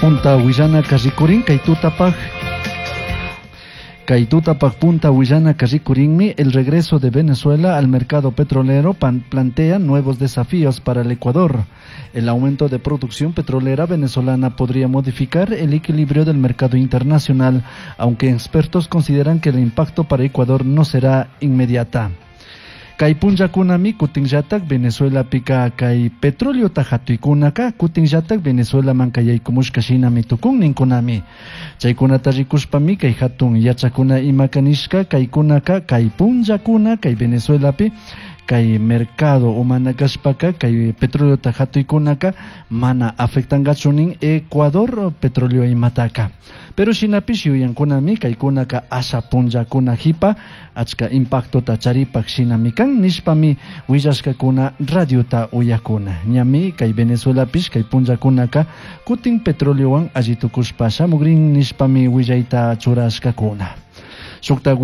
Punta willanaka rikurin kay tutapaj. Kay tutapaj punta willanaka rikurinmi el regreso de Venezuela al mercado petrolero plantea nuevos desafíos para el Ecuador. El aumento de producción petrolera venezolana podría modificar el equilibrio del mercado internacional, aunque expertos consideran que el impacto para Ecuador no será inmediata. Kay punllakunami kutinllatak Venezuelapika kay petróleo-ta hatuykunaka kutinllatak Venezuelaman yaykumushka shinami tukun ninkunami. Chaykunata rikushpami kay hatun yachakuna imaka nishka kaykunaka kay punllakuna kay Venezuelapi kay mercado umana kashpaka kay petróleo-ta hatuykunaka mana afectangachu nin Ecuador petróleo imataka. Pero shinapish yuyankunami kaykunaka asha punllakuna hipa achka impactota charipak shinami kan nishpami willashkakuna radiota uyakuna. Ñami kay Venezuelapish kay punllakunaka kutin petroleowan alli tukushpa shamugrin nishpami willayta churashkakuna. Shukta.